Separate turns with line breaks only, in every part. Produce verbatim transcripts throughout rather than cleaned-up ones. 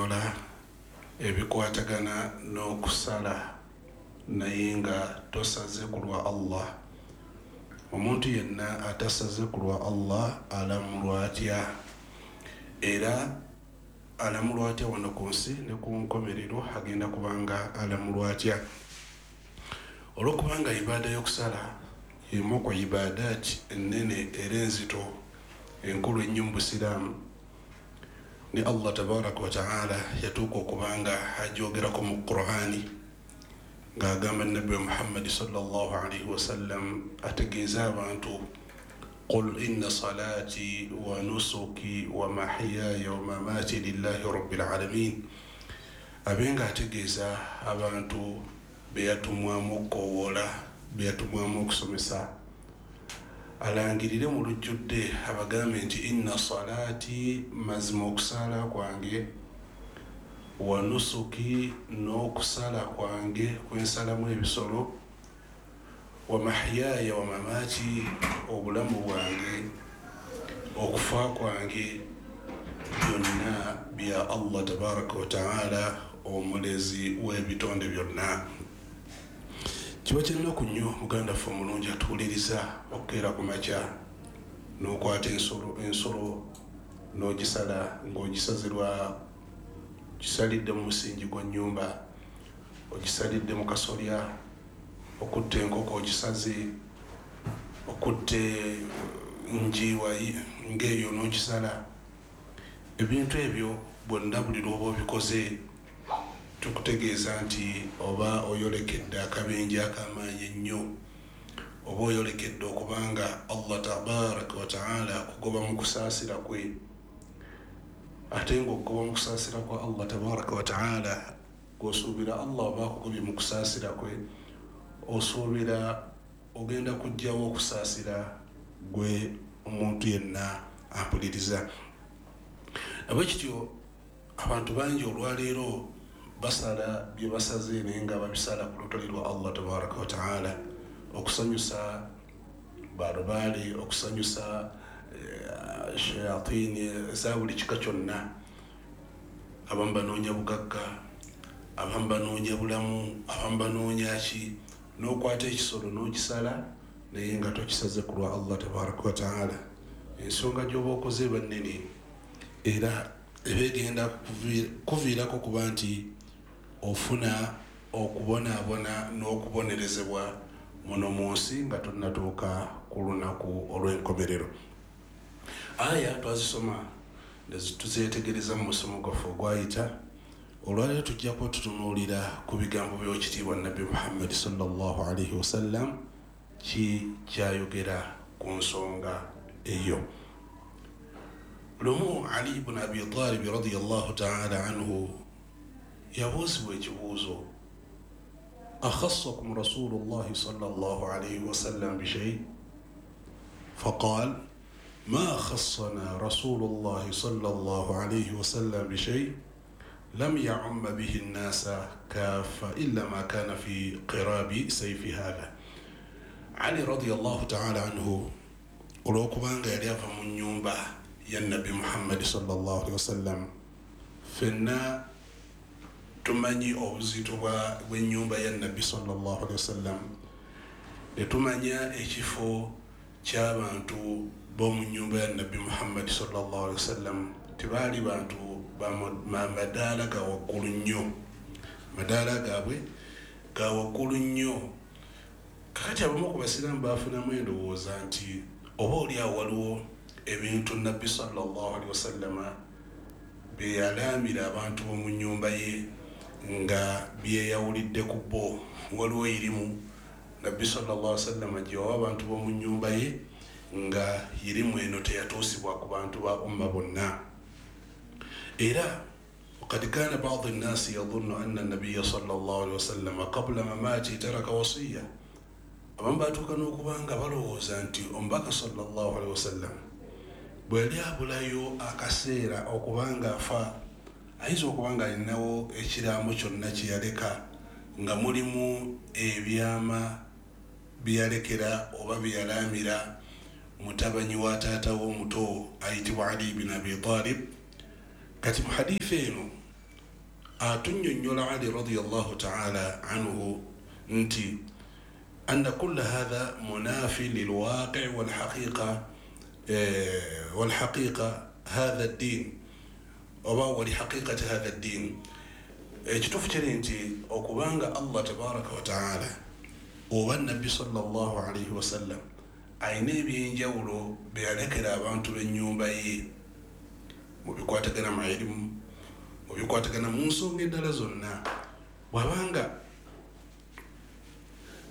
Okunnyonnyola ebikwatagana n'okusala naye nga tosaze ku lwa Allah. Omuntu yenna atasaze ku lwa Allah alamulwa atya? Era alamulwa atya wano ku nsi ne ku nkomerero agenda kubanga alamulwa atya? Olwokubanga ibaada y'okusala emu ku ibaadaati ennene era enzito enkulu ennyo mu Busiraamu, ne Allah tabaraka wa taala yatuuka okubanga agyogerako mu Qur'ani ng'agamba Nabbi Muhammadi sallallahu alaihi wasallam ategeeza abantu, qul inna salati wa nusuki wa mahiyaya wa mamati lillahi rabbil alamin. Abe nga ategeeza abantu beyatumwamu okukowoola, beyatumwamu okusomesa, alangirire mu lujjudde abagambe nti inna salati, mazima okusala kwange, wa nusuki, n'okusala kwange kwensalamu ebisolo, wa mahiyaya wa mamati, obulamu bwange, okufa kwange, byonna bya Allah tabaraka wa taala omulezi w'ebitonde byonna. Kiba kyennaku nnyo muganda ffe omulungi atuwuliriza okukeera ku makya n'okwata ensolo ensolo n'ogisala ng'ogisazirwa, ogisalidde mu musingi gwa nnyumba, ogisalidde mu kasolya, okutta enkoko ogisaze, okutta njiwa ng'eyo n'ogisala. Ebintu ebyo bwonna buli lw'oba obikoze tukutegeeza nti oba oyolekedde akabenje ak'amaanyi ennyo, oba oyolekedde okubanga Allah tabaraka wa taala akugoba mu kusaasira kwe. Ate ng'okugoba mu kusaasira kwa Allah tabaraka wa taala, gw'osuubira Allah oba akugobye mu kusaasira kwe, osuubira ogenda kujjawo okusaasira gwe omuntu yenna ampuliriza. Abwekityo abantu bangi olwaleero basala bye basaze naye nga babisala ku lutali lwa Allah tabaraka wa taala, okusanyusa balubaale, okusanyusa shayatini za buli kika kyonna. Abamu banoonya bugagga, abamu banoonya bulamu, abamu banoonya ki, n'okwata ekisolo n'okisala naye nga tokisaze ku lwa Allah tabaraka wa taala. Ensonga gy'oba okoze eba nnene era eba egenda kuviirako kuba nti ofuna okubonaabona n'okubonerezebwa muno mu nsi nga tonnatuuka ku lunaku olw'enkomerero. Aya twazisoma tuzeetegereza mu musomo gwaffe ogwayita. Olwaleero tujja kuba tutunuulira ku bigambo by'ekitiibwa Nabbi Muhammadi sallallahu alaihi wasallam ki kyayogera ku nsonga eyo. Lumu Ali ibn Abi Talib radiyallahu ta'ala anhu yabuuzibwa ekibuuzo, akhassakum rasulullahi sallallahu alaihi wasallam bishay? Faqal ma khassana rasulullahi sallallahu alaihi wasallam bishay lam ya'umma bihi an-nasa kaffa illa ma kana fi qirabi sayfi hadha. Ali radiyallahu ta'ala anhu olwokubanga yali ava mu nnyumba ya Nabbi Muhammad sallallahu alaihi wasallam, ffenna tumanyi obuzito bw'ennyumba ya Nabbi sallallahu alaihi wasallam, ne tumanya ekifo ky'abantu b'omu nnyumba ya Nabbi Muhammad sallallahu alaihi wasallam. Tebaali bantu bamadaala ga waggulu nnyo, madaala gaabwe ga waggulu nnyo. Kakati abamu ku basiraamu baafunamu endowooza nti oba oli awo waliwo ebintu Nabbi sallallahu alaihi wasallam bye yalaamira abantu b'omu nnyumba ye nga byeyawulidde ku bo. Waliwo irimu Nabbi sallallahu alaihi wasallam gye yawa abantu b'omu nnyumba ye nga irimu eno teyatuusibwa ku bantu ba umma bonna. Era وقد كان بعض الناس يظن أن النبي صلى الله عليه وسلم قبل مماته ترك وصية. Abamu baatuuka n'okubanga balowooza nti omubaka sallallahu alaihi wasallam bwe yali abulayo akaseera okubanga afa, ayinza okuba nga alinawo ekiraamo kyonna kye yaleka nga mulimu ebyama bye yalekera oba bye yalaamira mutabanyi wa taata w'omuto ayitibwa Ali ibn Abi Talib. Kati mu hadithi eno Atunnyonnyola Ali radiyallahu ta'ala anhu nti anna kulla hadha munafi lilwaqi walhaqiqa walhaqiqa hadha ddin oba walihaqiqati hadha ddin. Ekituufu kiri nti okubanga Allah tabaraka wa ta'ala oba nabbi sallallahu alaihi wasallam ayina ebyenjawulo bye yalekera abantu b'ennyumba ye mu bikwatagana mu ilimu, mu bikwatagana mu nsonga endala zonna, bw'abanga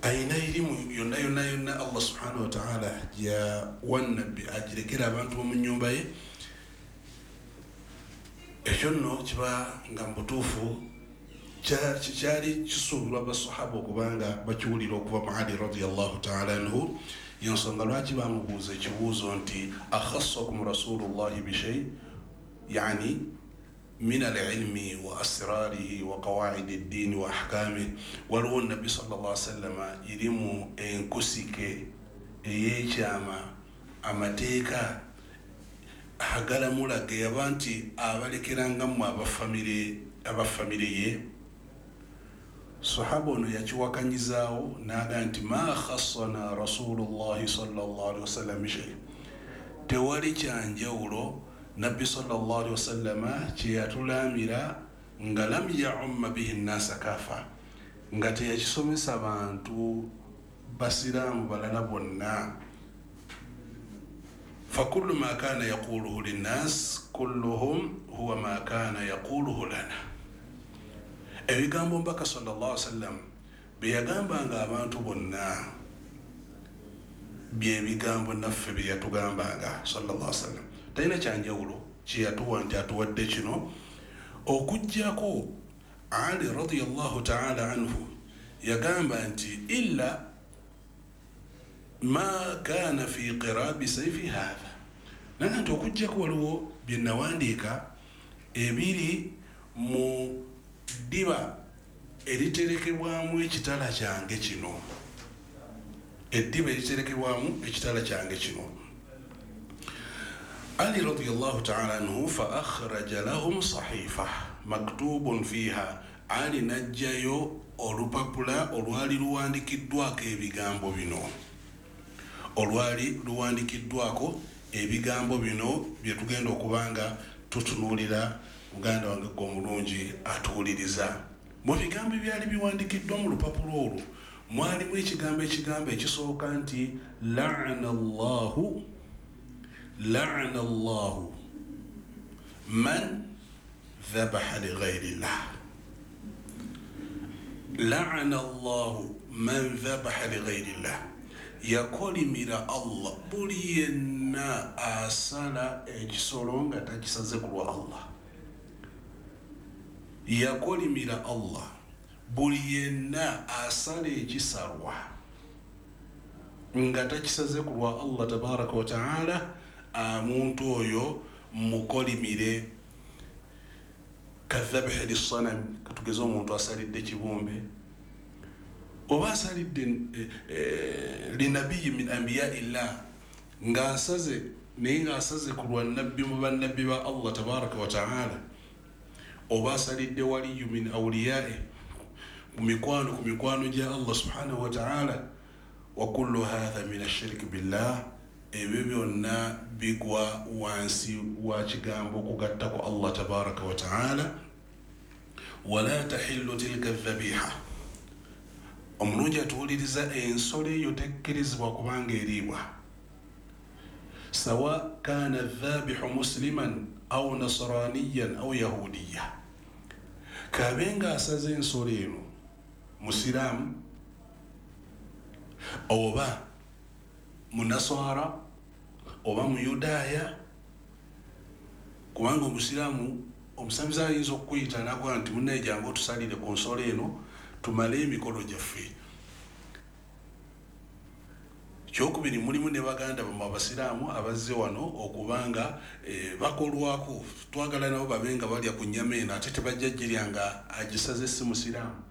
ayina ilimu yonna yonna yonna Allah subhanahu wa ta'ala gyawa nabbi agirekera abantu b'omu nnyumba ye, ekyo nno kiba nga mu butuufu kyali kisuubirwa basahaba okubanga bakiwulira okuva mu Ali radiyallahu ta'ala anhu. Yensonga lwaki bamubuuza ekibuuzo nti akhassakum rasulullahi bishai, yani min alilmi wa asrarihi wa qawaidi ddini wa ahkamih. Waliwo nabbi sallallahu alaihi wasallama irimu enkusike ey'ekyama, amateeka agalamula ge yaba nti abalekerangamu abafamire abafamire ye. Sahaba ono yakiwakanyizaawo n'aga nti ma khassana rasulullahi sallallahu alaihi wasallam shay, tewali kyanjawulo nabbi sallallahu alaihi wasallama kye yatulamira nga lam yaumma bihi nnasa kafa, nga teyakisomesa bantu basiraamu balala bonna. Fakullu ma kana yaquluhu linnas kulluhum huwa ma kana yaquluhu lana. Ebigambo mbaka sallallahu alaihi wasallam bye yagambanga abantu bonna bye bigambo naffe bye yatugambanga sallallahu alaihi wasallam. Talina kyanjawulo kye yatuwa nti atuwadde kino, okuggyako Ali radiyallahu ta'ala anhu yagamba nti illa ma kana fi qirabi sayfi hadha, naga nti okuggyako waliwo bye nawandiika ebiri mu ddiba eriterekebwamu ekitala kyange kino, eddiba eriterekebwamu ekitala kyange kino. Ali radiyallahu ta'ala anhu fa akhraja lahum sahifa maktubun fiha, Ali n'aggyayo olupapula olwali luwandikiddwako ebigambo bino, olwali luwandikiddwako ebigambo bino bye tugenda okubanga tutunuulira. Muganda wange gwe omulungi atuwuliriza, mu bigambo ebyali biwandikiddwa mu lupapula olwo mwalimu ekigambo ekigambo ekisooka nti la'ana Allahu la'ana Allahu man dhabaha li ghayri llah, la'ana Allahu man dhabaha li ghayri llah, yakolimira Allah buli yenna asala ekisolo nga takisaze ku lwa Allah. Yakolimira Allah buli yenna asala ekisalwa nga takisaze ku lwa Allah tabaraka wa ta'ala, omuntu oyo mukolimire. Kadhabihi lissanam, katugeze omuntu asalidde kibumbe oba asalidde linabiyi min anbiyaillah, ng'asaze naye ng'asaze ku lwa nabbi mu bannabbi ba Allah tabaraka wa ta'ala, oba asalidde waliyu min awliyae, ku mikwano ku mikwano gya Allah subhanahu wa ta'ala. Wa kullu hadha min ashiriki billah, ebyo byonna bigwa wansi wa kigambo okugatta ku Allah tabaraka wa ta'ala. Wala tahillu tilka dhabiha, omulungi atuwuliriza ensolo eyo tekkirizibwa kubanga eriibwa, sawa kana dhabihu musliman au nasraniyan au yahudiya, kabe nga asaze ensolo eno musiraamu oba munaswara oba muyudaaya, kubanga omusiraamu omusamize ayinza okukuyita n'akugaa nti munnaye jangu otusalire ku nsolo eno tumale emikolo gyaffe. Kyokubiri mulimu ne baganda bammwe abasiraamu abazze wano okubanga e, bakolwako, twagala nabo babe nga balya ku nnyama eno ate tebajja girya nga agisaze si musiraamu.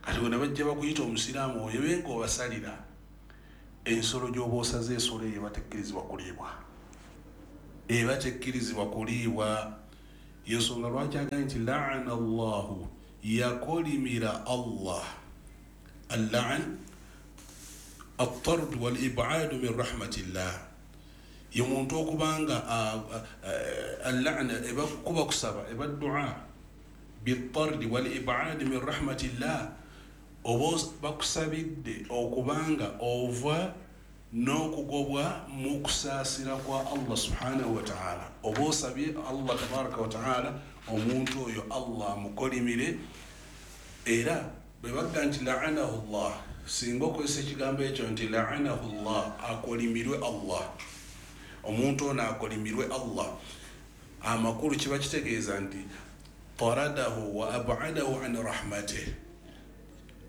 Kati bwe bajja bakuyita omusiraamu oyo be ng'obasalira ensolo gy'oba osaze, ensolo eyo eba tekkirizibwa kuliibwa, eba tekkirizibwa kuliibwa. Yensonga lwaki agambye nti la'ana Allahu, yakolimira Allah. Al-la'n at-tard wal-ib'ad min rahmatillah, ye muntu okubanga al-la'na eba kuba kusaba, eba dua bit-tard wal-ib'ad min rahmatillah, oba bakusabidde okubanga ova n'okugobwa mu kusaasira kwa Allah subhanahu wa ta'ala. Oba osabye Allah tabaraka wa ta'ala omuntu oyo Allah amukolimire. Era bwe bagga nti la'anahu Allah, singa okozesa ekigambo ekyo nti la'anahu Allah, akolimirwe Allah, omuntu ono akolimirwe Allah, amakulu kiba kitegeeza nti taradahu wa ab'adahu an rahmatih,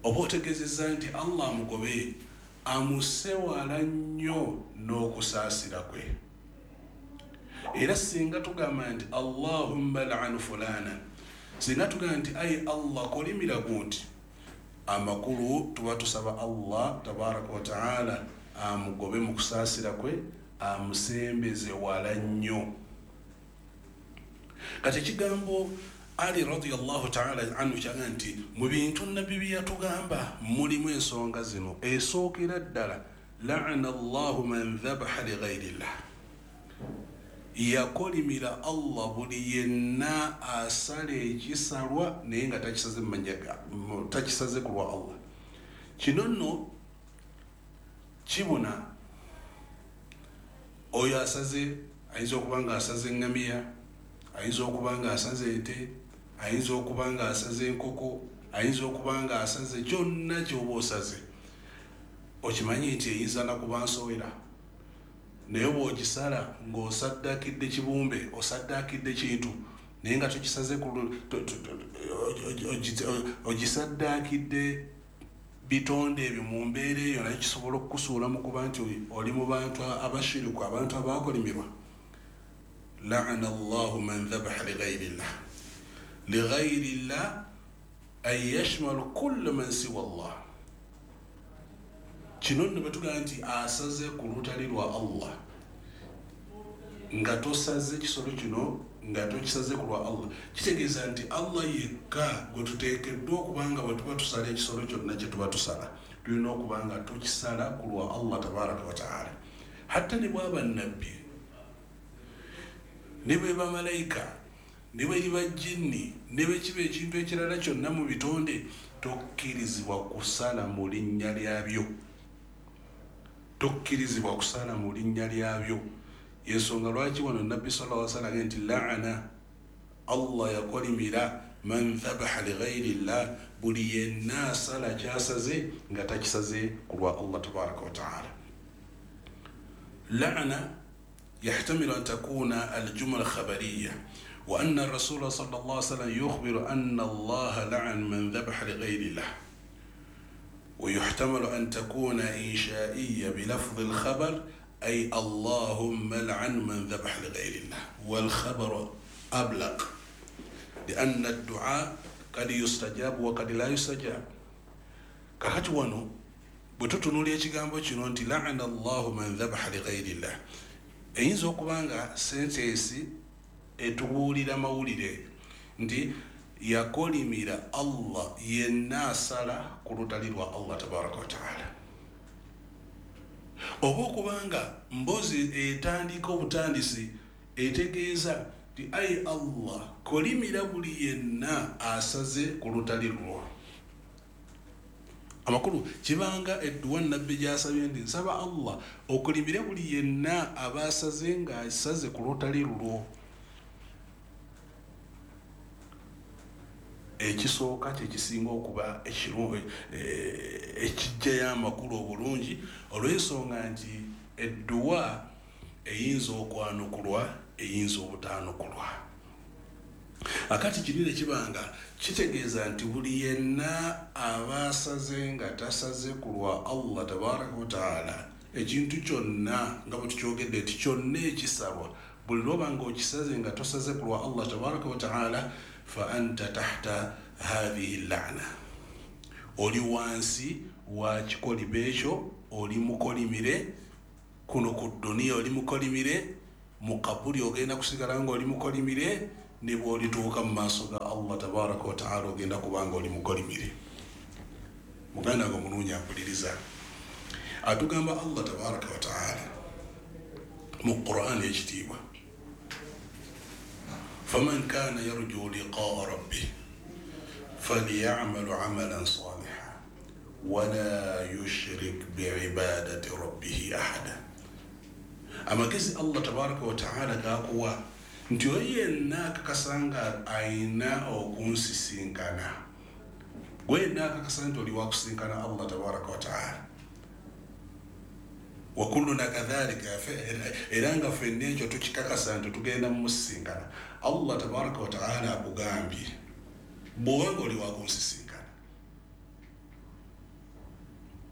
oba otegeezezza nti Allah amugobe, amusewala nnyo n'okusaasira kwe. Era singa tugamba nti Allahumma la'an fulana, singa tugamba nti ayi Allah kolimira gundi, amakulu tuba tusaba Allah tabaraka wa ta'ala amugobe mu kusaasira kwe, amusembeze wala nnyo. Kati ekigambo Ali radiyallahu ta'ala anhu kyaga nti mu bintu nabbi bye yatugamba mulimu ensonga zino. Esookera ddala la'ana Allahu man dhabaha li ghayrillah, yakolimira Allah buli yenna asala ekisalwa naye nga takisaze mu mannya, takisaze ku lwa Allah. Kino nno kibuna oyo asaze, ayinza okuba nga asaze eŋŋamiya, ayinza okuba nga asaze ente, ayinza okuba nga asaze enkoko, ayinza okuba nga asaze kyonna ky'oba osaze. Okimanyi nti eyinza nakuba nsowera, naye bw'ogisala ng'osaddakidde kibumbe, osaddakidde kintu, naye nga tokisaze ogisaddakidde bitonde ebyo mu mbeera eyo, naye kisobola okukusuula mu kuba nti oli mu bantu abashiriku, abantu abaakolimirwa. La'ana Allahu man dhabaha li ghayrillah, li ghayrillah ay yashmalu kull man siwa Allah. Kino nno batugamba nti asaze ku lutali lwa Allah, nga tosaze kisolo kino nga tokisaze ku lwa Allah, kitegeeza nti Allah yekka gwe tuteekeddwa okuba nga bwe tuba tusala ekisolo kyonna kye tuba tusala, tulina okuba nga tukisala ku lwa Allah tabaraka wa ta'ala. Hatta ne bwaba nabbi, ne bwe bamalayika, ne bwe liba jinni, ne bwe kiba ekintu ekirala kyonna mu bitonde, tokkirizibwa kusala mu linnya lyabyo, tokkirizibwa kusala mu linnya lyabyo. Yensonga lwaki wano nabbi sallallahu alaihi wasallam nti la'ana Allah yakolimira man dhabaha li ghayrillah, buli yenna asala kyasaze nga takisaze ku lwa Allah tabaraka wa ta'ala. La'ana يحتمل أن تكون الجملة خبرية، وأن الرسول صلى الله عليه وسلم يخبر أن الله لعن من ذبح لغير الله، ويحتمل أن تكون إنشائية بلفظ الخبر، أي اللهم لعن من ذبح لغير الله، والخبر أبلغ لأن الدعاء قد يستجاب وقد لا يستجاب. Kakati wano bwe tutunuulira ekigambo kino nti la'ana Allahu man dhabaha lighayri llah, eyinza okuba nga sentensi etubuulira mawulire nti yakolimira Allah yenna asala ku lutali lwa Allah tabaraka wa taala, oba okubanga mbozi etandika obutandisi etegeeza nti ayi Allah kolimira buli yenna asaze ku lutali lwo. Amakulu kibanga edduwa nabbi gy'asabye nti nsaba Allah okulimire buli yenna aba asaze ng'asaze ku lutali lulwo. Ekisooka kyekisinga okuba ekijjayo amakulu obulungi, olw'ensonga nti edduwa eyinza okwanukulwa, eyinza obutaanukulwa. Akati kinene kibanga kitegeeza nti buli yenna aba asaze nga tasaze ku lwa Allah tabaraka wa taala, ekintu kyonna nga bwe tukyogedde nti kyonna ekisalwa buli lwoba nga okisaze nga tosaze ku lwa Allah tabaraka wa taala, fa anta tahta hadhihi lla'na, oli wansi wa kikolimo ekyo, oli mukolimire kuno ku dduniya, oli mukolimire mu kabuli, ogenda kusigala nga oli mukolimire Ne bw'olituuka mu maaso ga Allah tabaraka wa taala ogenda kubanga oli mukolimire. Muganda nga omulungi ampuliriza, atugamba Allah tabaraka wa taala mu Qur'an ekitiibwa, faman kana yarju liqaa rabbih falyamal amalan salihan wala yushrik biibadati rabbih ahada. Amagezi Allah tabaraka wa taala gakuwa nti oyo yenna akakasanga ayina okunsisinkana, gwe yenna akakasa nti oli wakusinkana Allah tabaraka wa taala, wa kulluna kadhalika, era nga ffenna ekyo tukikakasa nti tugenda mumusisinkana. Allah tabaraka wa taala akugambye bw'obanga oli wakunsisinkana,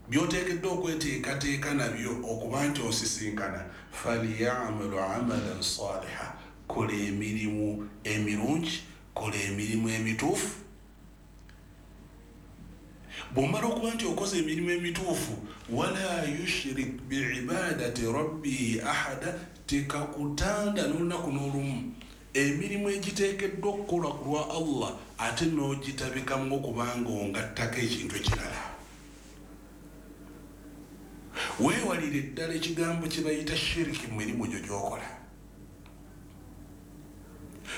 byoteekeddwa okweteekateeka nabyo okuba nti osisinkana, falyamalu amalan saliha, kola emirimu emirungi, kola emirimu emituufu. Bw'omala okuba nti okoze emirimu emituufu, wala yushrik biibadati rabbihi ahada, tekakutanda n'olunaku n'olumu emirimu egiteekeddwa okukolwa ku lwa Allah ate n'ogitabikamu okubanga ongattako ekintu ekirala. Weewalire ddala ekigambo kye bayita shiriki mu mirimu gyo gy'okola.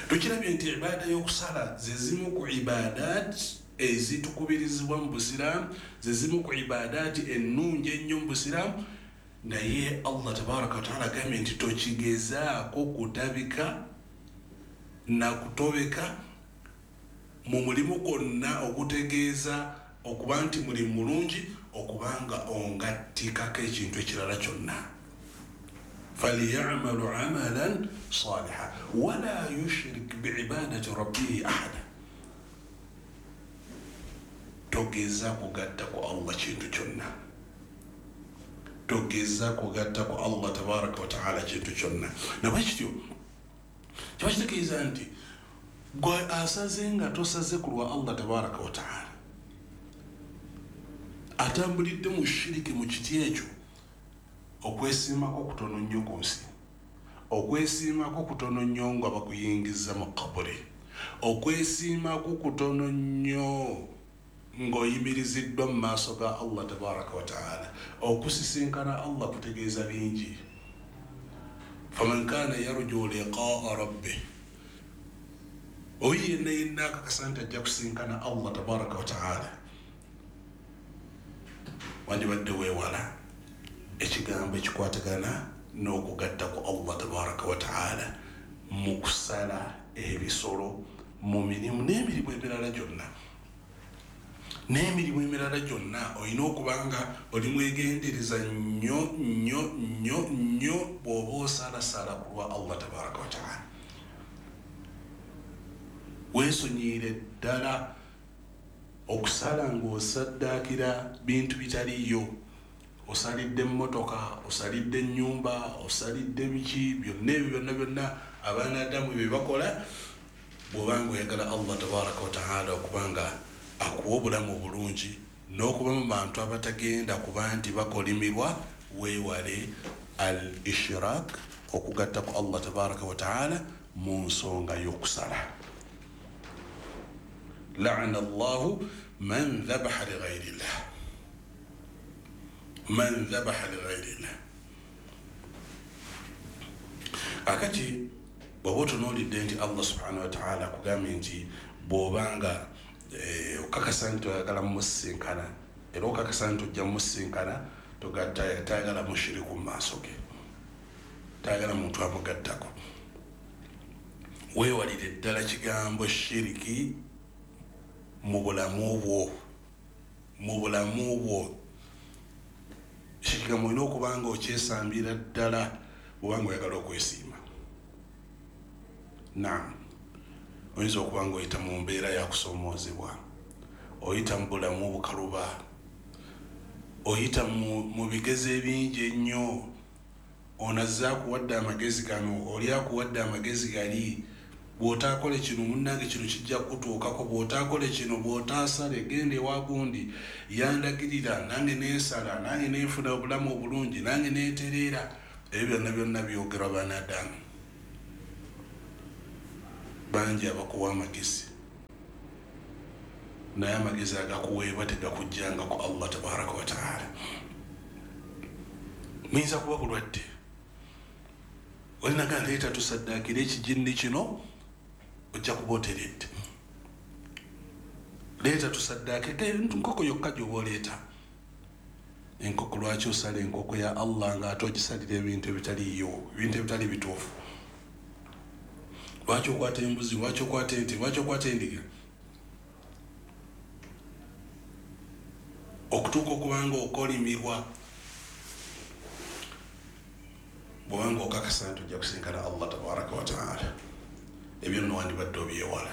Tukirabye nti ibaada y'okusala ze zimu ku ibaadaati ezitukubirizibwa mu busiraamu, ze zimu ku ibaadaati ennungi ennyo mu busiraamu, naye Allah tabaraka wataala agambye nti tokigezaako kutabika na kutobeka mu mulimu gwonna ogutegeeza okuba nti mulimu mulungi okubanga ongattikako ekintu ekirala kyonna. Falyamalu amalan saliha wala yushrik biibadati rabbihi ahada, togeza kugatta ku Allah kintu kyonna, togeza kugatta ku Allah tabaraka wa taala kintu kyonna. Nabwe kityo kiba kitegeeza nti gwe asaze nga tosaze ku lwa Allah tabaraka wa taala, atambulidde mu shiriki mu kiti ekyo, okwesiimako kutono nnyo ku nsi, okwesiimako kutono nnyo nga bakuyingiza mu kaburi, okwesiimako kutono nnyo ng'oyimiriziddwa mu maaso ga Allah tabaraka wa taala. Okusisinkana Allah kutegeeza bingi. Faman kana yarju liqaa rabbih, oyo yenna yenna akakasa nti ajja kusinkana Allah tabaraka wa taala, wandibadde weewala ekigambo ekikwatagana n'okugatta ku Allah tabaraka wa taala mu kusala ebisolo, mu mirimu n'emirimu emirala gyonna. N'emirimu emirala gyonna olina okuba nga oli mwegendereza nnyo nnyo nnyo nnyo bw'oba osalasala ku lwa Allah tabaraka wa taala. Weesonyiire ddala okusala ng'osaddaakira bintu bitaliiyo, osalidde emmotoka, osalidde ennyumba, osalidde biki, byonna ebyo byonna byonna abaana Adamu bye bakola. Bw'obanga oyagala Allah tabaraka wa taala okubanga akuwa obulamu obulungi n'okuba mu bantu abatagenda kuba nti bakolimirwa, weewale al ishrak, okugatta ku Allah tabaraka wa taala mu nsonga y'okusala. La'ana Allahu man dhabaha li ghayri llah, man dhabaha li ghayri llah. Akati bw'oba otunuulidde nti Allah subhanahu wa taala akugambye nti bw'obanga okakasa nti oyagala mumusisinkana, era okakasa nti ojja mumusisinkana, tayagala mushiriku mu maaso ge, tayagala muntu amugattako. Weewalire ddala kigambo shiriki mu bulamu bwo, mu bulamu bwo. Ekigambo olina okuba nga okyesambira ddala bw'obanga oyagala okwesiima. Naam, oyinza okuba nga oyita mu mbeera ya kusoomoozebwa, oyita mu bulamu obukaluba, oyita mu bigezo ebingi ennyo, ono azze akuwadde amagezi gano, oli akuwadde amagezi gali, bw'otaakole kino munnange kino kijja kukutuukako, bw'otaakole kino, bw'otaasale genda ewa gundi yandagirira, nange neesala, nange nenfuna obulamu obulungi, nange neetereera. Ebyo byonna byonna byogerwa banadamu. Bangi abakuwa amagezi, naye amagezi agakuweebwa tegakujjanga ku Allah tabaraka wa taala. Muyinza kuba bulwadde, olinaga nleeta tusaddaakire ekijinni kino, ojja kuba oteredde. Leeta tusaddaake nkoko yokka gy'oba oleeta. Enkoko lwaki osala enkoko ya Allah ng'ate ogisalira ebintu ebitaliiyo, ebintu ebitali bituufu? Lwaki okwata embuzi, lwaki okwata ente, lwaki okwata endiga? Okutuuka okubanga okolimirwa, bw'obanga okakasa nti ojja kusinkana Allah tabaraka wa taala, ebyo nno wandibadde obyewala.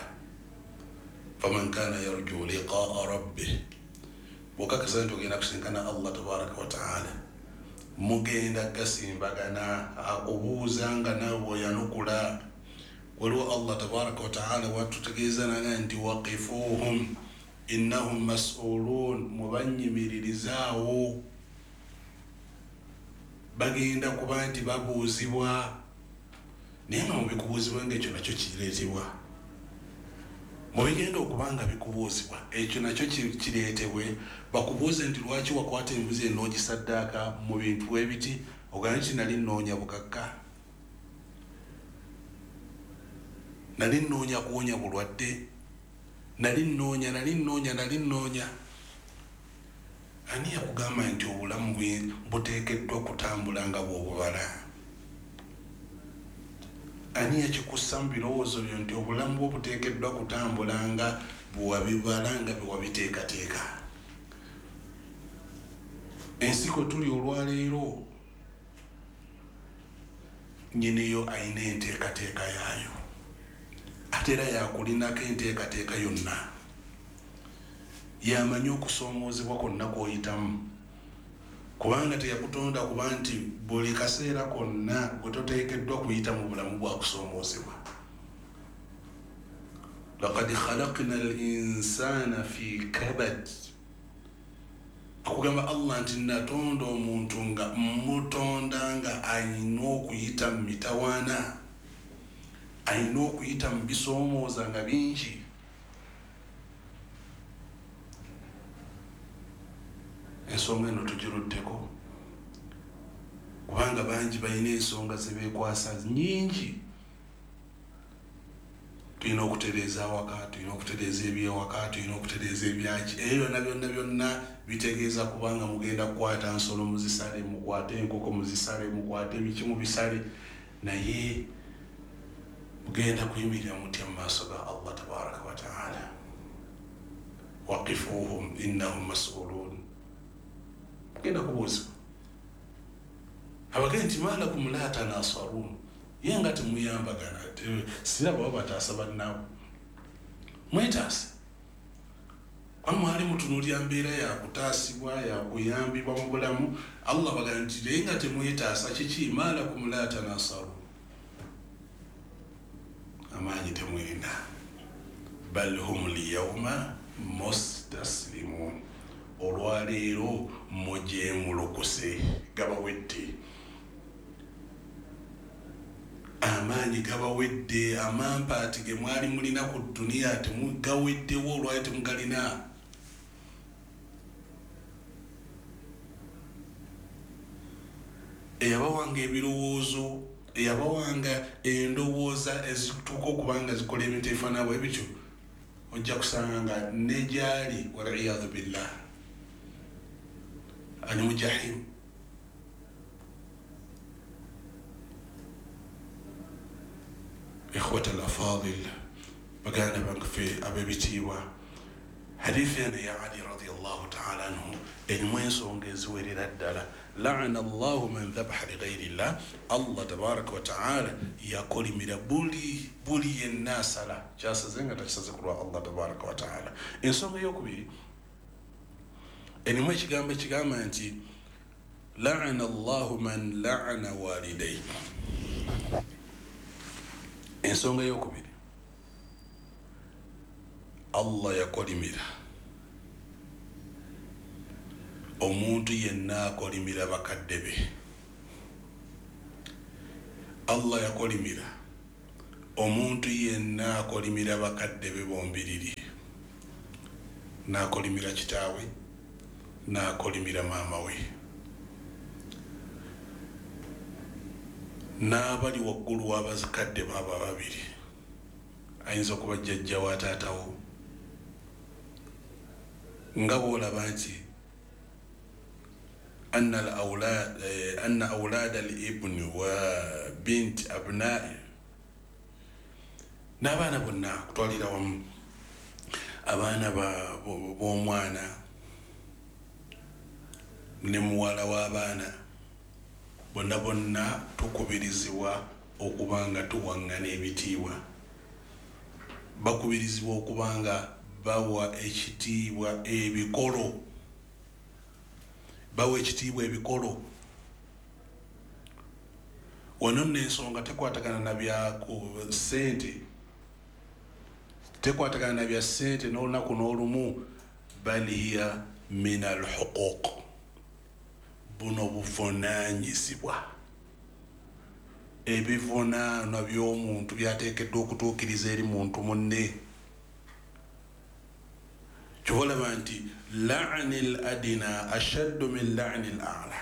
Faman kana yarju liqaa rabbih, bw'okakasa nti ogenda kusinkana Allah tabaraka wa taala, mugenda gasimbagana, akubuuza nga naawe bw'oyanukula. Waliwo Allah tabaraka wa taala watutegeeza naga nti waqifuhum innahum mas'ulun, mubanyimiririzaawo, bagenda kuba nti babuuzibwa. Naye nga mubikubuuzibwa nga ekyo nakyo kireetebwa, mubigenda okuba nga bikubuuzibwa ekyo nakyo kireetebwe. Bakubuuze nti lwaki wakwata embuzi eno n'ogisaddaaka mu bintu ebiti, ogambe nti nali nnoonya bugagga, nali nnoonya kuwonya bulwadde, nali nnoonya nali nnoonya nali nnoonya. Ani yakugamba nti obulamu buteekeddwa kutambula nga bw'obubala? Ani yakikussa mu birowoozo byo nti obulamu bwo buteekeddwa kutambula nga bwewabibala, nga bwe wabiteekateeka? Ensi kwe tuli olwaleero nnyiniyo ayina enteekateeka yaayo, ate era yakulinako enteekateeka yonna. Yamanyi okusoomoozebwa kwonna kw'oyitamu, kubanga teyakutonda kuba nti buli kaseera konna gwe toteekeddwa kuyita mu bulamu bwa kusoomoozebwa. Laqad khalaqna al-insana fi kabad, akugamba Allah nti natonda omuntu nga mutonda nga ayina okuyita mu mitawaana, ayina okuyita mu bisoomooza nga bingi. Ensonga eno tugiruddeko kubanga bangi balina ensonga ze beekwasa nnyingi. Tulina okutereeza awaka, tulina okutereeza ebyewaka, tulina okutereeza ebyaki, ebyo byonna byonna byonna bitegeeza kubanga mugenda kukwata nsolo muzisale, mukwate enkoko muzisale, mukwate biki mubisale, naye mugenda kuyimirira mutya mu maaso ga Allah tabaraka wa taala? Waqifuhum innahum mas'ulun, mugenda kubuuzibwa. Abagenda nti malakum la tanasarun, ye nga temuyambagana, siraba baba bataasa bannaabwe, mwetaase. Kuba mwali mutunuulira mbeera yakutaasibwa, yakuyambibwa mu bulamu. Allah bagamba nti naye nga temwetaasa kiki? Malakum la tanasarun, amaanyi temulina. Bal hum lyauma mustaslimun, olwaleero mugyemulukuse, gabawedde amaanyi, gabawedde amampaati ge mwali mulina ku dduniya temugaweddewo, olwali temugalina. Eyabawanga ebirowoozo, eyabawanga endowooza ezituuka okuba nga zikola ebintu ebifaanana bwe bityo, ojja kusanga nga ne gyali waliyadhu billah ali mu jahimu. Ikhwata al-afadil, baganda bange ab'ebitiibwa, hadithi eno ya Ali radiyallahu taala anhu erimu ensonga eziwerera ddala. Laana Allahu man dhabaha lighairi llah, Allah tabaraka wa taala yakolimira buli buli yenna asala kyasaze nga takisaze ku lwa Allah tabaraka wa taala. Ensonga eyokubiri erimu ekigambo ekigamba nti laana Allahu man laana walidayhi. Ensonga eyokubiri, Allah yakolimira omuntu yenna akolimira bakadde be. Allah yakolimira Omuntu yenna akolimira bakadde be bombiriri, n'akolimira kitaawe, n'akolimira maama we, n'abali waggulu w'abazikadde baaba babiri, ayinza okuba jjajja wa taatawo, nga bw'olaba nti anna al-awlad anna awlad al-ibn wa bint abna'i, n'abaana bonna kutwalira wamu, abaana b'omwana ne muwala w'abaana bonna bonna tukubirizibwa okuba nga tuwaŋŋana ebitiibwa, bakubirizibwa okuba nga bawa ekitiibwa ebikolo, bawa ekitiibwa ebikolo. Wano nno ensonga tekwatagana na bya ssente, tekwatagana na bya ssente n'olunaku n'olumu, bal hiya min alhuquq, buno buvunaanyizibwa, ebivunaanwa by'omuntu byateekeddwa okutuukiriza eri muntu munne. Kyova olaba nti la'ni al adina ashaddu min la'ni al a'la,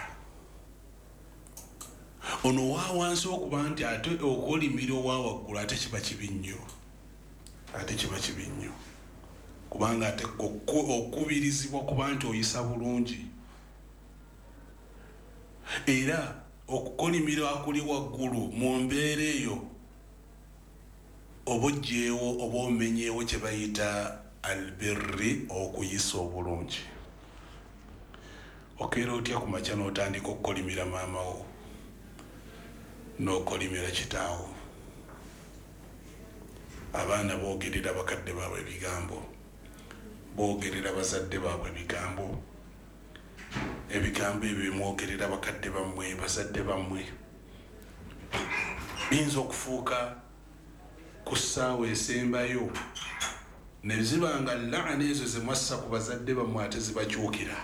ono wa wansi okuba nti ate okolimira owa waggulu ate kiba kibi nnyo, ate kiba kibi nnyo, kubanga ate okubirizibwa kuba nti oyisa bulungi, era okukolimira akuli waggulu mu mbeera eyo oba oggyeewo oba omenyeewo kye bayita albirri, okuyisa obulungi. Okeera otya ku makya n'otandika okukolimira maama wo n'okolimira kitaawo? Abaana boogerera bakadde baabwe ebigambo, boogerera bazadde baabwe ebigambo, ebigambo ebyo bimwogerera bakadde bammwe, bazadde bammwe, biyinza okufuuka ku ssaawa esembayo ne ziba nga laana ezo ze mwassa ku bazadde bammwe ate zibakyukira.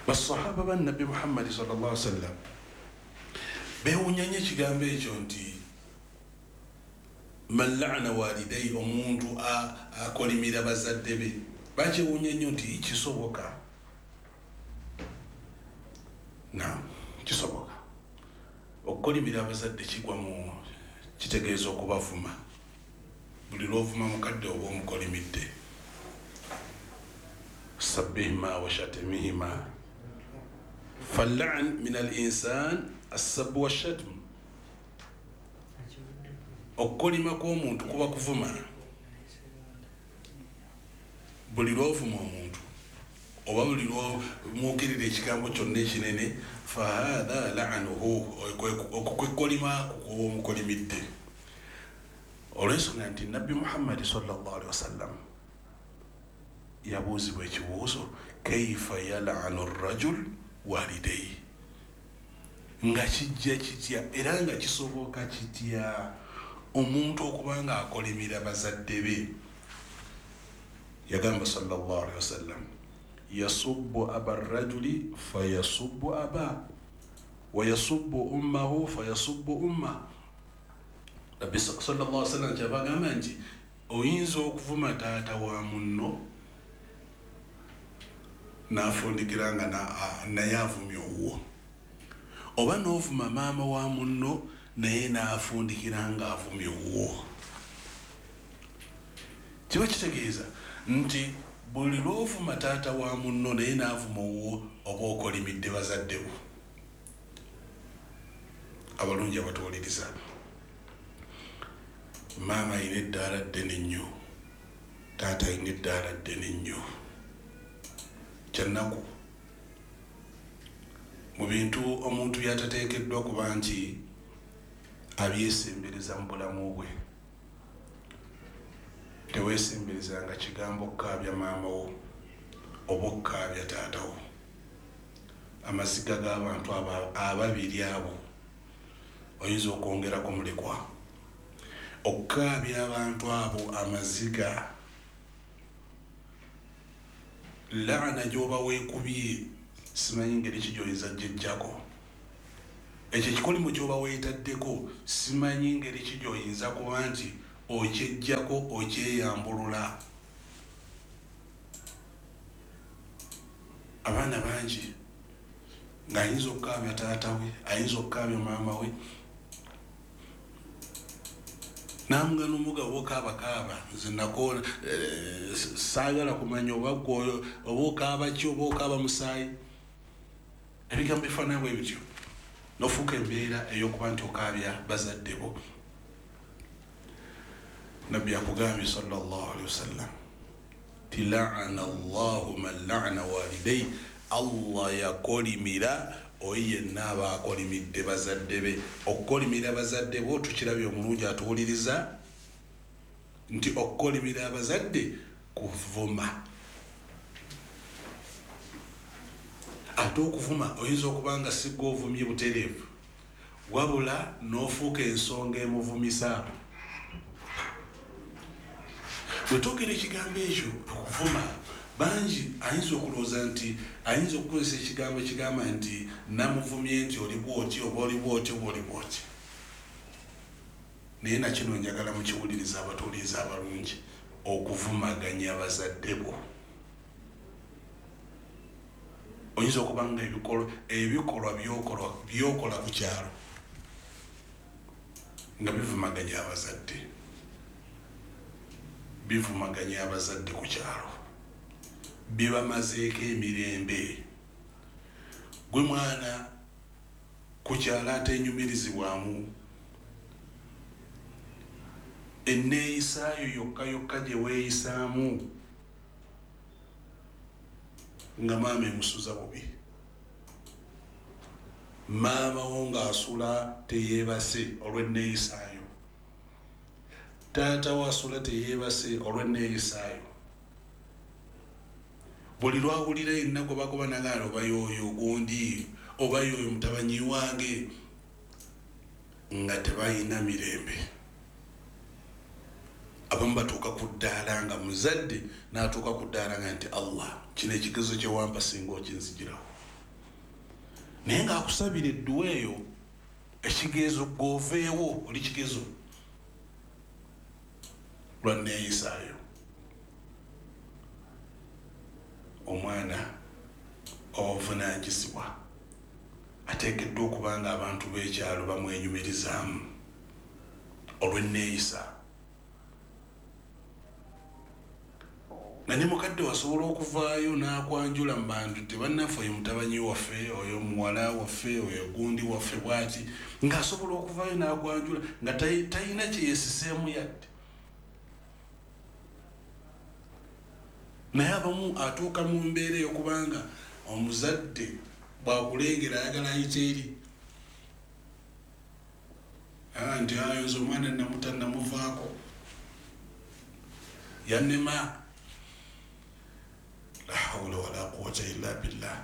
Basahaba ba Nabbi Muhammadi sallallahu alaihi wasallam beewuunya nnyo ekigambo ekyo nti man la'ana walidayhi, omuntu akolimira bazadde be. Bakyewuunya nnyo nti kisoboka. Naam, kisoboka. Okukolimira abazadde kigwa mu kitegeeza okubavuma. Buli lw'ovuma mukadde oba omukolimidde. Sabbihima wa shatimihima. Fal'an min al-insan as-sabbu wash-shatm. Okukolima kw'omuntu kuba kuvuma. Buli lw'ovuma omuntu oba buli lw'omwogerera ekigambo kyonna ekinene, fahatha la'anuhu, okukwekolima kuba omukolimidde. Olw'ensonga nti Nabbi Muhammadi sallallahu alaihi wasallam yabuuzibwa ekibuuzo, kaifa yal'anu rajul walidayhi, nga kijja kitya era nga kisoboka kitya omuntu okuba nga akolimira bazadde be? Yagamba sallallahu alaihi wasallam, yasubbu aba rajuli fayasubbu aba wa yasubbu ummahu fayasubbu umma. Nabbi sallallahu alaihi wasallam kyabagamba nti oyinza okuvuma taata wa munno n'afundikira nga naye avumye owuwo, oba n'ovuma maama wa munno naye n'afundikira nga avumye owuwo. Kiba kitegeeza nti buli lw'ovuma taata wa munno naye n'avuma owuwo oba okolimidde bazadde bo. Abalungi abatuwuliriza, maama ayina eddaala ddene nnyo, taata ayina eddaala ddene nnyo. Kyannaku mu bintu omuntu by'atateekeddwa kuba nti abyesembereza mu bulamu bwe. Teweesemberezanga kigambo okukaabya maama wo oba okukaabya taata wo. Amaziga g'abantu ababiri abo oyinza okwongerako mulekwa. Okukaabya abantu abo amaziga, laana gy'oba weekubye simanyi ngeri ki gy'oyinza gyeggyako. Ekyo ekikolimo ky'oba weetaddeko simanyi ngeri ki gy'oyinza kuba nti okyejjako okyeyambulula. Abaana bangi ng'ayinza okukaabya taata we, ayinza okukaabya maama we, namuga n'omuga oba okaabakaaba nze nakoona saagala kumanya oba gwe oba okaaba ki oba okaaba musaayi. Ebigambo bifaanana bwe bityo n'ofuuka embeera ey'okuba nti okaabya bazadde bo. Nabbi akugambye sallallahu alaihi wasallam ti la'ana Allahu man la'ana walidayhi, Allah yakolimira oyo yenna aba akolimidde bazadde be. Okukolimira bazadde bo tukirabye omulungi atuwuliriza nti okukolimira abazadde kuvuma. Ate okuvuma oyinza okuba nga si ggwe ovumye butereevu, wabula n'ofuuka ensonga emuvumisa. Bwe twogera ekigambo ekyo okuvuma, bangi ayinza okulowooza nti ayinza okukozesa ekigambo ekigamba nti namuvumye nti oli bw'oti oba oli bw'oti oba oli bw'oti. Naye nakino njagala mukiwuliriza abatuwuliriza abalungi, okuvumaganya bazadde bo. Oyinza okuba nga ebikolwa by'okola ku kyalo nga bivumaganya abazadde, bivumaganya abazadde ku kyalo, bibamazeeko emirembe. Gwe mwana ku kyalo atenyumirizibwamu, enneeyisaayo yokka yokka gye weeyisaamu nga maama emusuza bubi, maama wo ng'asula teyeebase olw'enneeyisaayo, taata wo asula teyeebase olw'enneeyisaayo. Buli lwawulira yenna gwe bagoba nagaana oba y'oyo gundi oba y'oyo mutabanyi wange, nga tebalina mirembe. Abamu batuuka ku ddaala nga muzadde n'atuuka ku ddaala nga nti Allah kino ekigezo kye wampa singa okinzigirawo. Naye ng'akusabira edduwa eyo ekigezo gw'oveewo oli kigezo lwa nneeyisaayo. Omwana obuvunaanyizibwa ateekeddwa okuba nga abantu b'ekyalo bamwenyumirizaamu olw'enneeyisa. Na ne mukadde wasobola okuvaayo n'akwanjula mu bantu nti bannaffe oyo mutabanyi waffe, oyo muwala waffe, oyo gundi waffe bw'ati, ng'asobola okuvaayo n'akwanjula nga talina kye yeesiseemu yadde. Naye abamu atuuka mu mbeera ey'okubanga omuzadde bw'akulengera ayagala ayite eri nti ayo nze omwana namuta namuvaako yannema. La hawla wala quwwata illa billah.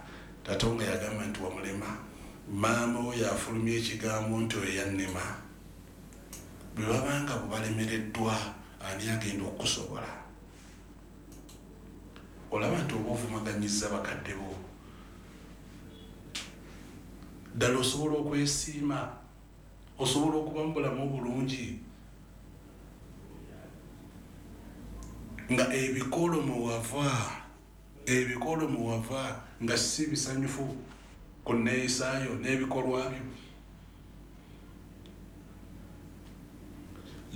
Taata nga yagamba nti wamulema, maama wo yafulumya ekigambo nti oyo yannema. Bwe babanga bubalemereddwa ani agenda okukusobola? Olaba nti oba ovumaganyizza bakadde bo. Ddala osobola okwesiima, osobola okuba mu bulamu obulungi nga ebikolo mwe wava, ebikolo mwe wava nga si bisanyufu ku nneeyisaayo n'ebikolwa byo.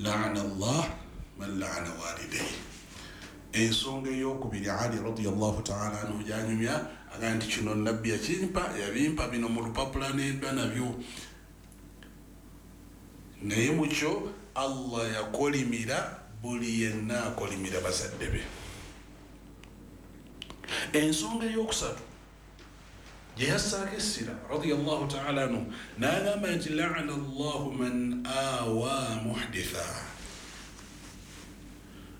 La'ana Allah man la'ana walidayhi. Ensonga ey'okubiri Ali radiyallahu ta'ala anhu gy'anyumya agamba nti kino nabbi yakimpa, yabimpa bino mu lupapula n'emba nabyo. Naye mu kyo Allah yakolimira buli yenna akolimira bazadde be. Ensonga ey'okusatu gye yassaako essira radiyallahu ta'ala anhu n'agamba nti la'ana Allahu man awa muhditha.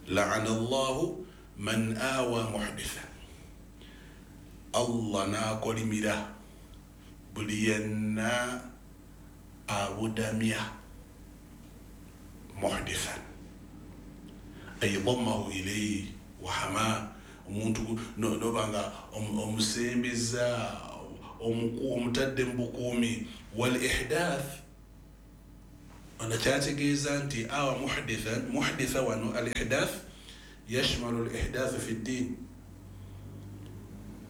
La'ana Allahu man awa muhditha. Allah n'akolimira buli yenna abudamya muhdithan, ay dammahu ilayhi wa hama. Omuntu nobanga omusembeza omutadde mu bukuumi. Wal ihdath, ana kyategeeza nti awa muhdithan, muhditha wano al ihdath yashmalu al ihdath fi ddin,